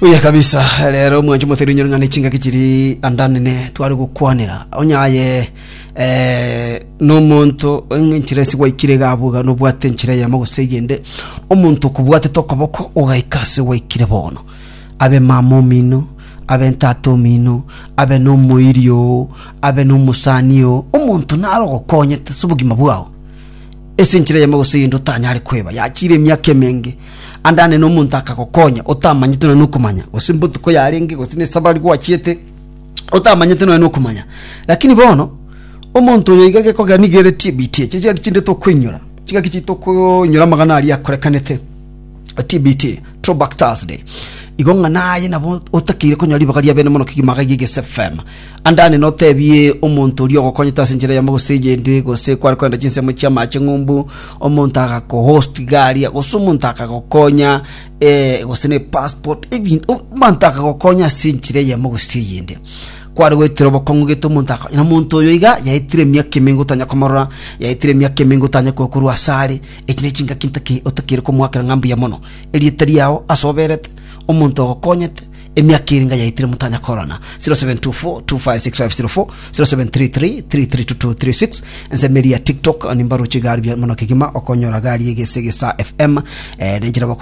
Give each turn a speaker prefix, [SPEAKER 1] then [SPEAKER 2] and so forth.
[SPEAKER 1] Buya kabisa rero omwancho moteri onyore ng'a ne chingaki chiri andanene tware gokwanera onye aye eh, nomonto enchera ase gwaikire iga abwo iga nobwate enchera eyemo gose eyende omonto okobwatete okoboko ogaika ase gwaikire bono abe mama omino abe ntata omino abe nomoiri oo abe nomosani oo omonto naro ogokonyete ase obogima bwao Ase enchera eyemo gose eyende otanyare kweba, yachiire emiaka emenge, ande ane nomonto akagokonya otamanyete nonya nokomanya, gose mbotuko yarenge, gose nesabari gwachiete, otamanyete nonya nokomanya. Lakini bono, omonto oyo iga gekogera nigo ere TBT, echi chingaki chinde tokoinyora, chingaki chinde tokoinyora amang'ana aria akorekanete, TBT, Throwback Thursday. Igo ng'a naye nabo otakeire konyora ribaga ria bene mono kegima iga Egesa FM. Andane notebie omonto oria ogokonyete ase enchera eyemo gose eyende, gose kware kogenda chinsemo chi'amache ng'umbu, omonto agakohost iga aria, gose omonto akagokonya eh, gose ne passport, ebinto omonto akagokonya ase enchera eyemo gose eyende. Kware goetera obokong'u gete omonto akonya, na omonto oyo iga yaetire emiaka emenge otanya komorora, yaetire emiaka emenge otanya koa korwa asare, echi ne chingaki ntake otakeire komoakera ng'a mbuya mono. Erieta riao ase oberete, omonto ogokonyete, Emiaka ere ngayaetire motanya korana 0724256504 0733332236 ensemo eria ya tiktok nimbaroche gari buya mono kegima okonyora gari egese gesa fm eh, nenchera bako.